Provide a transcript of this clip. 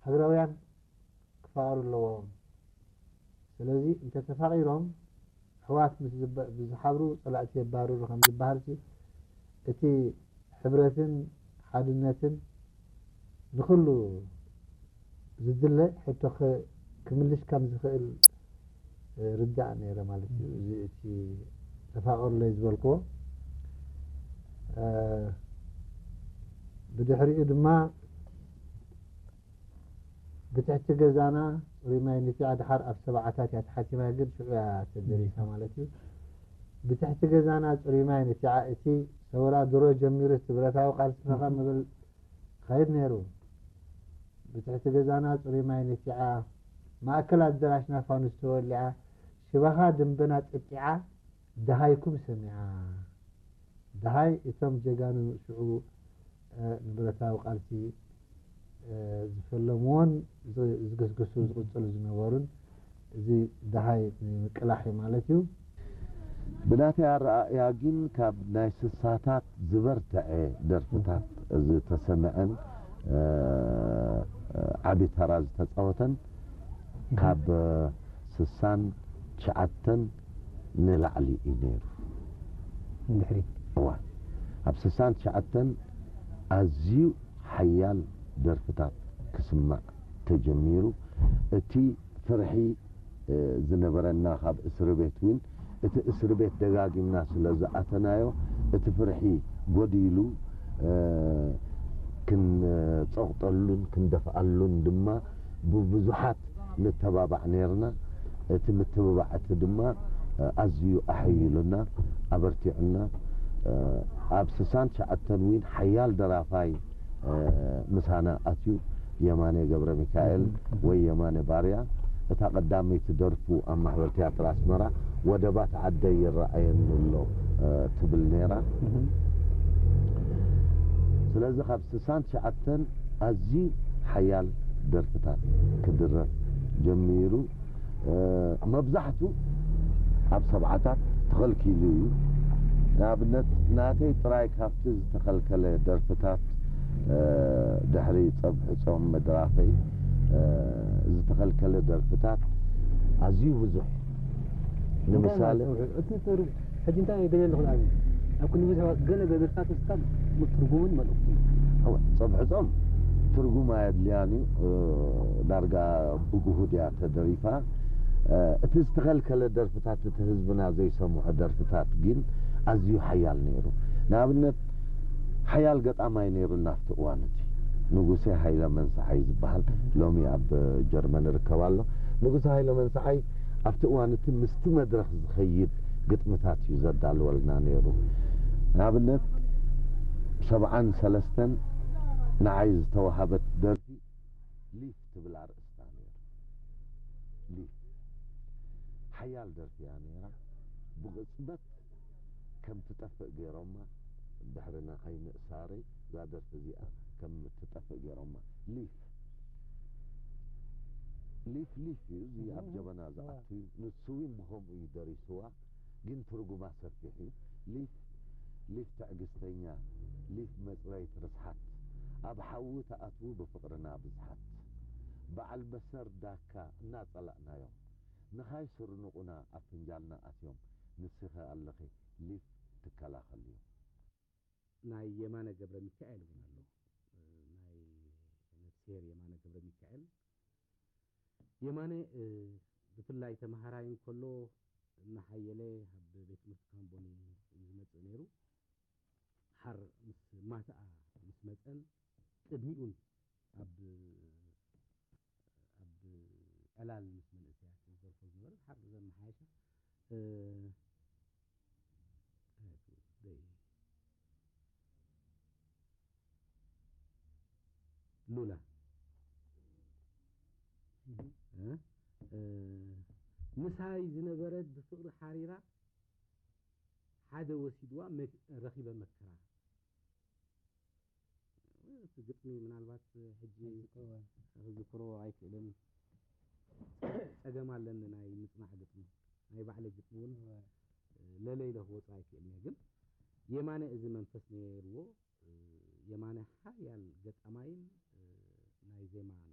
ሃገራውያን ክፋቐሩ ኣለዎም። ስለዚ እንተተፋቒሮም ኣሕዋት ምስ ዝባ- ብዝሓብሩ ጸላእቲ የባርሩ ከም ዝበሃል ሲ እቲ ሕብረትን ሓድነትን ንኹሉ ዝድለ ሕቶ ኸ- ክምልሽ ከም ዝኽእል ርዳእ ነይረ ማለት እዩ። እዚ እቲ ተፋቐሩለይ ዝበልክዎ ብድሕሪኡ ድማ ብትሕቲ ገዛና ጽሩይ ማይ ንፊዓ ድሓር ኣብ ሰብዓታት እያ ተሓቲማ ግን ሽዑ እያ ተደሪሳ ማለት እዩ። ብትሕቲ ገዛና ጽሩይ ማይ ንፊዓ እቲ ሰውራ ድሮ ጀሚሩ እቲ ብረታዊ ቃልሲ ፈኸም ምብል ኸይድ ነይሩ። ብትሕቲ ገዛና ጽሩይ ማይ ንፊዓ ማእከል ኣደራሽና ፋኑስ ተወሊዓ ሽባኻ ድምበና ጥጢዓ ደሃይኩም ሰሚዓ። ደሃይ እቶም ጀጋኑ ሽዑ ንብረታዊ ቃልሲ ዝፈለምዎን ዝግስግሱ ዝቕፅሉ ዝነበሩን እዚ ደሃይ ንምቅላሕ እዩ ማለት እዩ። ብናተይ ኣረኣእያ ግን ካብ ናይ ስሳታት ዝበርትዐ ደርፍታት ዝተሰምዐን ዓቢ ተራ ዝተፃወተን ካብ ስሳን ትሽዓተን ንላዕሊ እዩ ነይሩ። ንድሕሪት እዋ ኣብ ስሳን ትሽዓተን ኣዝዩ ሓያል ደርፍታት ክስማዕ ተጀሚሩ። እቲ ፍርሒ ዝነበረና ካብ እስሪ ቤት እውን እቲ እስሪ ቤት ደጋጊምና ስለ ዝኣተናዮ እቲ ፍርሒ ጎዲሉ ክንጸቕጠሉን ክንደፍኣሉን ድማ ብብዙሓት ንተባባዕ ነይርና። እቲ ምትብባዕ እቲ ድማ ኣዝዩ ኣሐይሉና፣ ኣበርቲዑና። ኣብ ስሳን ትሽዓተን እውን ሓያል ደራፋይ ምሳና ኣትዩ የማነ ገብረ ሚካኤል ወይ የማነ ባርያ እታ ቀዳመይቲ ደርፉ ኣብ ማሕበር ትያትር ኣስመራ ወደባት ዓደይ ይረኣየኒ ኣሎ ትብል ነይራ። ስለዚ ካብ ስሳን ትሽዓተን ኣዝዩ ሓያል ደርፍታት ክድረፍ ጀሚሩ። መብዛሕቱ ኣብ ሰብዓታት ተኸልኪሉ እዩ። ንኣብነት ናተይ ጥራይ ካብቲ ዝተኸልከለ ደርፍታት ድሕሪ ጸብሒ ጾም ምድራፈይ ዝተኸልከለ ደርፍታት ኣዝዩ ብዙሕ። ንምሳሌ ሕጂ እንታይ ገለ ኣለኹ ንኣብነት ኣብ ክንዲ ሰባት ገለ ገደርታት ውስታ ትርጉምን መልእኽቱን ጸብሒ ጾም ትርጉም ኣየድልያን እዩ። ዳርጋ ብግሁድ እያ ተደሪፋ። እቲ ዝተኸልከለ ደርፍታት እቲ ህዝብና ዘይሰምዖ ደርፍታት ግን ኣዝዩ ሓያል ነይሩ። ንኣብነት ሓያል ገጣማይ ነይሩ ናብቲ እዋን እቲ ንጉሴ ሃይለ መንሰሓይ ዝበሃል ሎሚ ኣብ ጀርመን ይርከብ ኣሎ። ንጉሴ ሃይለ መንሰሓይ ኣብቲ እዋን እቲ ምስቲ መድረኽ ዝኸይድ ግጥምታት እዩ ዘዳልወልና ነይሩ። ንኣብነት ሰብዓን ሰለስተን ንዓይ ዝተዋሃበት ደርፊ ሊፍ ትብል ኣርእስታ ነይሩ። ሊፍ ሓያል ደርፊ እያ ነይራ። ብቕጽበት ከም ትጠፍእ ገይሮማ ድሕሪ ንዓይ ምእሳረይ እዛ ደርፊ እዚኣ ከም ትጠፍእ ገይሮማ። ሊፍ ሊፍ ሊፍ እዩ እዚ ኣብ ጀበና ዝኣቱ እዩ። ንሱ እውን ብኸምኡ እዩ ደሪስዋ። ግን ትርጉማ ሰፊሕ እዩ። ሊፍ ሊፍ ትዕግስተኛ ሊፍ መጽረይት ርስሓት ኣብ ሓዊ ትኣትዉ ብፍቕርና ብዝሓት በዓል በሰር ዳካ እናጸላእናዮም ንኻይ ስርንቑና ኣብ ፍንጃልና ኣትዮም ንስኺ ኣለኺ ሊፍ ትከላኸልዮም። ናይ የማነ ገብረ ሚካኤል እውን ኣሎ። ናይ ነፍስሄር የማነ ገብረ ሚካኤል የማነ ብፍላይ ተምሃራይ እንከሎ እናሓየለ ኣብ ቤት ትምህርቲ ካምቦኒ እዩ ዝመፅእ ነይሩ። ሓር ምስ ማትኣ ምስ መፀን ቅድሚኡን ኣብ ኣብ ዕላል ምስ መንእሰያት ዝደርፎ ዝነበረ ሓር ዘመሓየሻ ሉላ ምሳይ ዝነበረት ብፍቕሪ ሓሪራ ሓደ ወሲድዋ ረኺበ መከራ። እቲ ግጥሚ ምናልባት ሕጂ ክዝክሮ ኣይክእልን። ጸገም ኣለኒ ናይ ምጽናዕ ግጥሚ። ናይ ባዕለይ ግጥሚ እውን ለለ ኢለ ክወጽእ ኣይክእልን እየ። ግን የማነ እዚ መንፈስ ነይርዎ። የማነ ሓያል ገጣማይን ናይ ዜማን